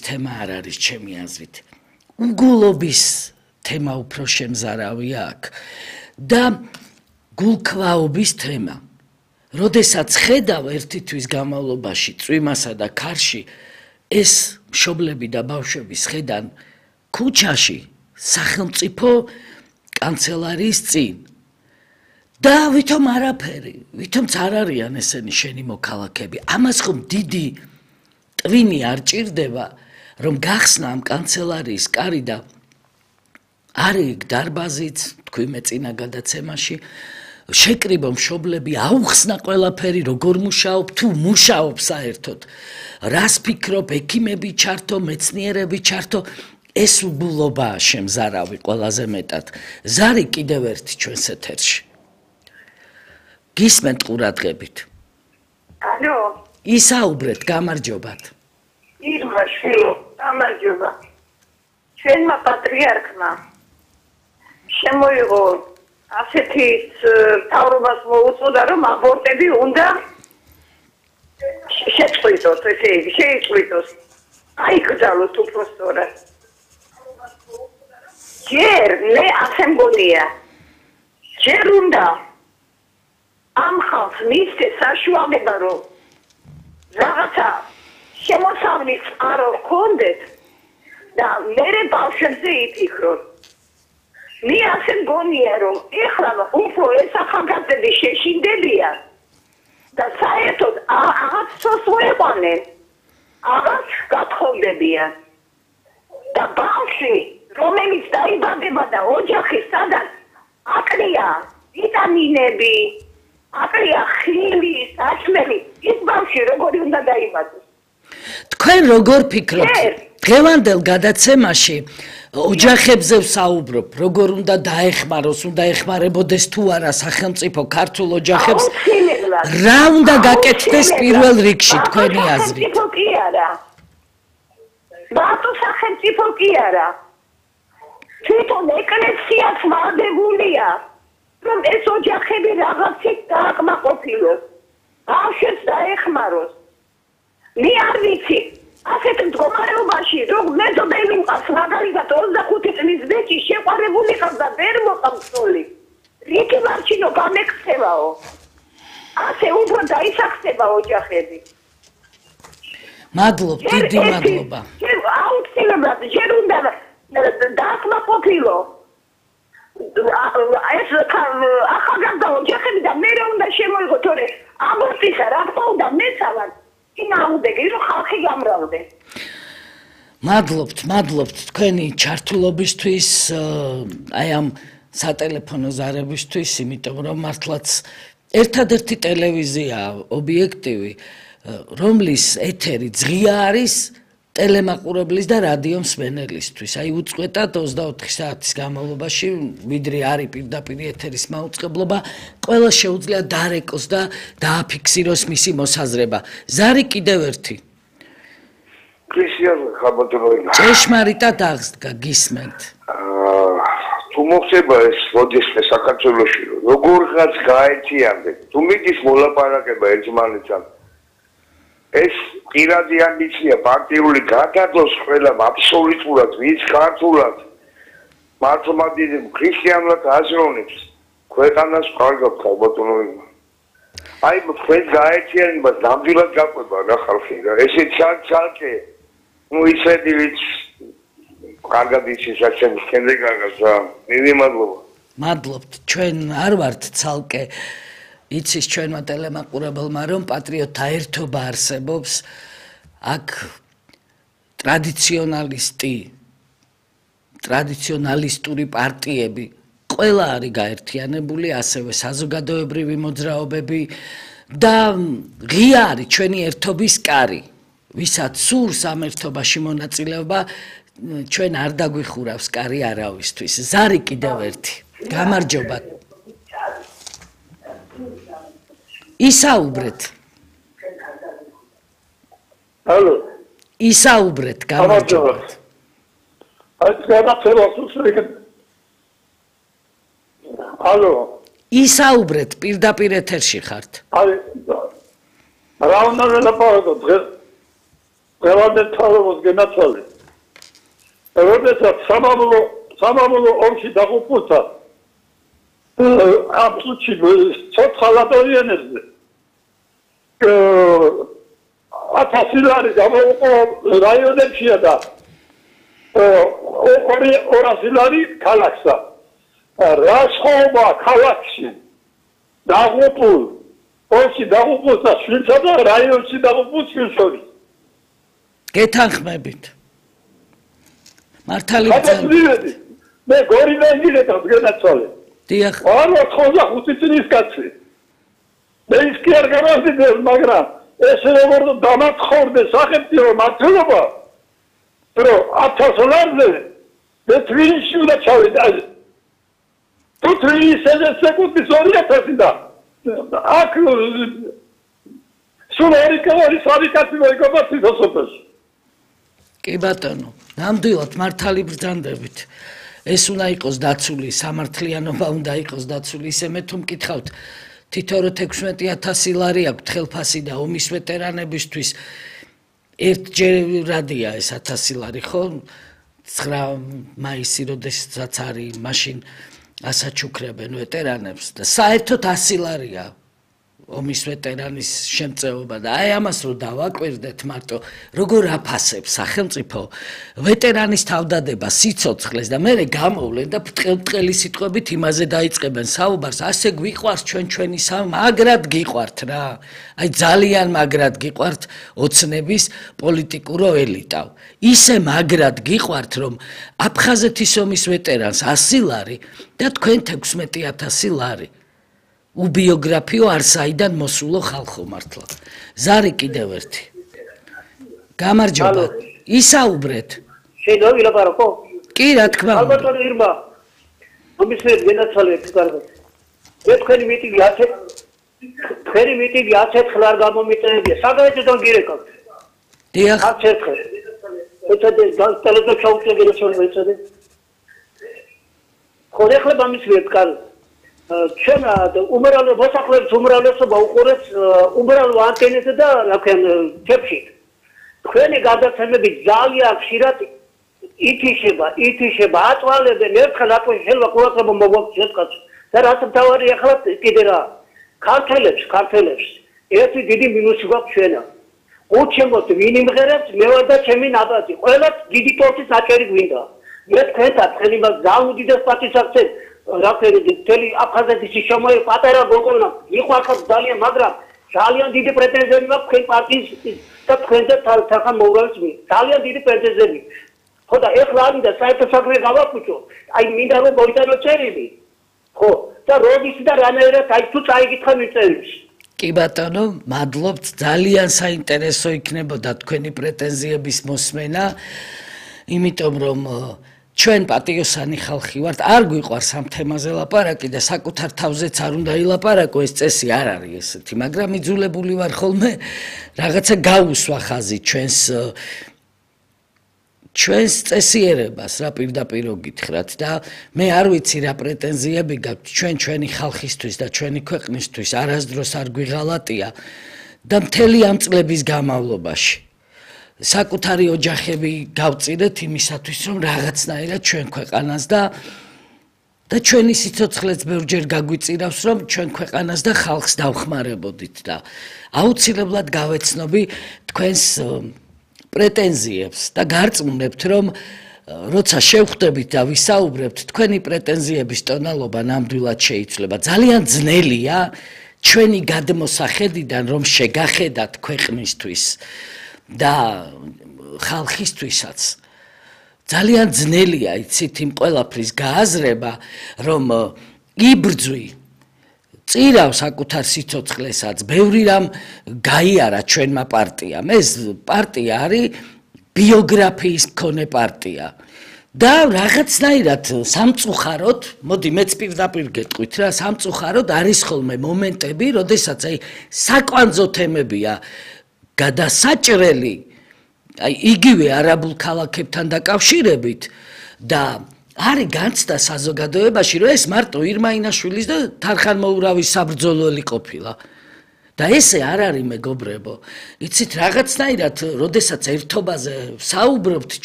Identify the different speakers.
Speaker 1: თემა არ არის ჩემი აზრით. უგულობის თემა უფრო შემზარავია აქ და გულქვაობის თემა. როდესაც ხედავ ერთი თვის განმავლობაში წვიმასა და ქარში ეს მშობლები და ბავშვები შედან ქუჩაში სახელმწიფო კანცელარიის წინ და ვითომ არაფერი, ვითომც არ არიან ესენი შენი მოქალაქეები. ამას ხომ დიდი ტვინი არ ჭირდება, რომ გახსნა ამ კანცელარიის კარი და არის იქ დარბაზიც, თქვი მე წინა გადაცემაში, შეკრიბო მშობლები, აუხსნა ყველაფერი, როგორ მუშაობ, თუ მუშაობ საერთოდ. რას ფიქრობ, ექიმები ჩართო, მეცნიერები ჩართო, ეს უბულობაა შემზარავი ყველაზე მეტად. ზარი კიდევ ერთი ჩვენს ეთერში. გისმენთ ყურადღებით.
Speaker 2: ალო.
Speaker 1: ისაუბრეთ, გამარჯობათ.
Speaker 2: ირმა შვილო, გამარჯობა. ჩვენმა პატრიარქმა შემოიღო ასეთი თავრობას მოუწოდა, რომ აბორტები უნდა შეწყვიტოს, ესე იგი, შეიწყვიტოს. აიკრძალოს უბრალოდ. ჯერ მე ასე მგონია. ჯერ უნდა ამ ხალხს მისცეს საშუალება, რომ რაღაცა შემოსავლის წყარო ჰქონდეთ და მერე ბავშვებზე იფიქროთ. მე ასე მგონია, რომ ეხლა უფრო ეს ახალგაზრდები შეშინდებიან და საერთოდ აღაც სოწყვეტყვნენ, აღაც გათხოვდებიან. და ბავშვი, რომელიც დაიბადება და ოჯახი სადაც აკლია ვიტამინები, აკლია ხილი, საჭმელი, ის ბავშვი როგორი უნდა დაიბადოს?
Speaker 1: თქვენ როგორ ფიქრობთ? დღევანდელ გადაცემაში ოჯახებზე ვსაუბრობ, როგორ უნდა დაეხმაროს, უნდა ეხმარებოდეს თუ არა სახელმწიფო ქართულ ოჯახებს. რა უნდა გაკეთდეს პირველ რიგში თქვენი აზრით?
Speaker 2: სახელმწიფო კი არა. მარტო სახელმწიფო კი არა. თვითონ ეკლესიაც ვალდებულია, რომ ეს ოჯახები რაღაცით დააკმაყოფილოს, ბავშვებს დაეხმაროს. მე არ ვიცი, ასეთ მდგომარეობაში, რომ მეზობელი მყავს, მაგალითად 25 წლის ბეჭი შეყვარებული ყავს და ვერ მოყავსოლი. რითი მარჩინო გამექცევაო. ასე უფრო დაისახება ოჯახები.
Speaker 1: მადლობ, დიდი მადლობა.
Speaker 2: აუცილებლად ჯერ უნდა დააკმაყოფილო. ეს ახალგაზრდა ოჯახები და მე უნდა შემოიღო, თორე აბორტისა რა თქმა უნდა მეცალად ინაუდეგი, რომ ხალხი გამრავლდეს.
Speaker 1: მადლობთ თქვენი ჩართულობისთვის, აი ამ სატელეფონო ზარებისთვის, იმიტომ რომ მართლაც ერთადერთი ტელევიზია ობიექტივი, რომლის ეთერი ძღია არის ტელემაყურებლის და რადიო მსმენელისთვის. აი უწყვეტად 24 საათის განმავლობაში, ვიდრე არის პირდაპირ ეთერის მაუწყებლობა, ყველა შეუძლია დარეკოს და დააფიქსიროს მისი მოსაზრება. ზარი კიდევ ერთი.
Speaker 3: კრისიან ხაბატონოვინა.
Speaker 1: ჭეშმარიტად აღსდგა, გისმენთ.
Speaker 3: თუ მოხდება ეს როდესმე საქართველოში, როგორღაც გაერთიანდნენ, თუ მიდის მოლაპარაკება ერთმანეთთან, ეს პირადი ამბიცია პარტიული გადადოს ყველამ აბსოლუტურად ვინც ქართულად მართლმადიდი ქრისტიანულად აზროვნებს ქვეყანას კარგად ხალბატონოვინა. აი თქვენ გაერთიანებას ნამდვილად გაყვება რა ხალხი რა ესე ცალკე ნუ ისეთი ვიც კარგად იცის საჩემს შემდეგ აღას რა დიდი მადლობა.
Speaker 1: მადლობთ, ჩვენ არ ვართ ცალკე იცის ჩვენმა ტელემაყურებელმა, რომ პატრიოტთა ერთობა არსებობს, აქ ტრადიციონალისტური პარტიები ყველა არის გაერთიანებული, ასევე საზოგადოებრივი მოძრაობები და ღია არის ჩვენი ერთობის კარი, ვისაც სურს ამ ერთობაში მონაწილეობა, ჩვენ არ დაგვიხურავს კარი არავისთვის. ზარი კიდევ ერთი. გამარჯობა. ისაუბრეთ.
Speaker 4: ალო.
Speaker 1: ისაუბრეთ, გამარჯობათ.
Speaker 4: ალო.
Speaker 1: ისაუბრეთ, პირდაპირ ეთერში ხართ.
Speaker 4: რა უნდა ველაპარაკო ყველანაირ თავრობას გენაცვალე. როდესაც სამამულო ომში დაღუპულთა აბსოლუტში ცოცხალ ადამიანებზე 1000 ლარი გამოუყო რაიონებშია და 200 ლარი ქალაქსა. რა სხვაობა ქალაქში დაღუპულ ომში დაღუპულთა შვილსა და რაიონში დაღუპულ შვილს შორის?
Speaker 1: გეთანხმებით. მართალი
Speaker 4: ბრძანები. მე გორინაინგილეთად გენაცვალე.
Speaker 1: დიახ.
Speaker 4: არა 85 წლის კაცი. მე ის კი არ გამარჯვებია, მაგრამ ეს როგორ დამათხოვდა სახელმწიფო მართლობა, რომ 1000 ლარზე მე თბილისში უნდა ჩავიდე. თუ თბილისზე სეკუნდის 2000 და აქ სულ ერიკავარი სარიკაცი მოიგონა თვითოსოფელში.
Speaker 1: კი ბატონო, ნამდვილად მართალი ბრძანდებით. ეს უნდა იყოს დაცული, სამართლიანობა უნდა იყოს დაცული. ისე მე თუ მკითხავთ, თითო 16,000 ლარი აქვს ხელფასი და ომის ვეტერანებისთვის ერთჯერადია ეს 1000 ლარი, ხო? 9 მაისი როდესაც არის, მაშინ ასაჩუქრებენ ვეტერანებს და საერთოდ 100 ლარია ომის ვეტერანის შემწეობა და აი ამას რო დავაკვირდეთ მარტო როგორ აფასებს სახელმწიფო ვეტერანის თავდადება სიცოცხლეს და მერე გამოვლენ და ბრტყელი სიტყვებით იმაზე დაიწყებენ საუბარს ასე გვიყვარს ჩვენი მაგრად გიყვართ რა აი ძალიან მაგრად გიყვართ ოცნების პოლიტიკურო ელიტავ ისე მაგრად გიყვართ რომ აფხაზეთის ომის ვეტერანს 100 ლარი და თქვენ 16,000 ლარი უბიოგრაფიო არსაიდან მოსულო ხალხო მართლა. ზარი კიდევ ერთი. გამარჯობა. ისაუბრეთ.
Speaker 5: შეიძლება ვილაპარაკო?
Speaker 1: კი, რა თქმა უნდა.
Speaker 5: ალბათ ირმა. მომისმენთ გენაცვალეთ კარგად. მე თქვენი მიტინგი 10 ხელ არ გამომიწევია. საგაეთოდან გირეკავთ.
Speaker 1: დიახ.
Speaker 5: 10 ხელ. ეცადე ტელევიზორ ჩაუწევ გენაცვალე ეცადე. ხო ეხლა მომისმენთ კარგად. ჩვენ უმრავლე მოსახლეობის უმრავლესობა უყურებს უმრავლე ანტენებზე და რა ქვია თებში. თქვენი გადაცემები ძალიან ხშირად ითიშება, აწვალებენ ერთხელ ატყვი შეიძლება ყურადღება მოგვაქვს შეწყაც. და რაც მთავარი ახლა კიდე რა ქართველებს ერთი დიდი მინუსი გვაქვს ჩვენა. უჩემოთ ვინ იმღერებს, მე ვარ და ჩემი ნაბადი. ყველას დიდი ტორტის აჭერი გვინდა. მე თქვენთან ხელი მას ზაუდიდეს პატისაქცევ რაფერი თელი აფხაზეთის შემოე პატარა გოგონა იყვარხარ ძალიან მაგრამ ძალიან დიდი პრეტენზიები მაქვს თქვენ პარტიის და თქვენზე თან მოურავის მი ძალიან დიდი პრეტენზიები ხო და ეხლა არ მინდა საერთო საქმე გავაკუჭო აი მინდა რომ მოიტანო წერილი ხო და როდის და რანაირად აი თუ წაიგითხა მიწერილს
Speaker 1: კი ბატონო მადლობთ ძალიან საინტერესო იქნებოდა თქვენი პრეტენზიების მოსმენა იმიტომ რომ ჩვენ პატიოსანი ხალხი ვართ, არ გვიყვარს ამ თემაზე ლაპარაკი და საკუთარ თავზეც არ უნდა ილაპარაკო, ეს წესი არ არის ესეთი, მაგრამ იძულებული ვარ ხოლმე რაღაცა გავუსვა ხაზი ჩვენს წესიერებას, რა პირდაპირ გითხრათ და მე არ ვიცი რა პრეტენზიები გაქვთ ჩვენი ხალხისთვის და ჩვენი ქვეყნისთვის არასდროს არ გვიღალატია და მთელი ამ წლების განმავლობაში საკუთარი ოჯახები გავწირეთ იმისათვის რომ რაღაცნაირად ჩვენ ქვეყანას და ჩვენი სიცოცხლეც ბევრჯერ გაგვიწირავს რომ ჩვენ ქვეყანას და ხალხს დავხმარებოდით და აუცილებლად გავეცნობი თქვენს პრეტენზიებს და გარწმუნებთ რომ როცა შევხვდებით და ვისაუბრებთ თქვენი პრეტენზიების ტონალობა ნამდვილად შეიცვლება ძალიან ძნელია ჩვენი გადმოსახედიდან რომ შეგახედათ ქვეყნისთვის და ხალხისთვისაც ძალიან ძნელია იცით იმ ყველაფრის გააზრება რომ იბრძვი წირავ საკუთარ სიცოცხლესაც ბევრი რამ გაიარა ჩვენმა პარტიამ ეს პარტია არის ბიოგრაფიის მქონე პარტია და რაღაცნაირად სამწუხაროდ მოდი მეც პირდაპირ გეტყვით რა სამწუხაროდ არის ხოლმე მომენტები როდესაც აი საკვანძო თემებია გადასაჭრელი აი იგივე არაბულ ქალაქებთან დაკავშირებით და არის განცდა საზოგადოებაში რომ ეს მარტო ირმა ინაშვილის და თარხან მოურავის საბრძოლველი ყოფილა და ესე არ არის მეგობრებო. იცით, რაღაცნაირად, როდესაც ერთობაზე საუბრობთ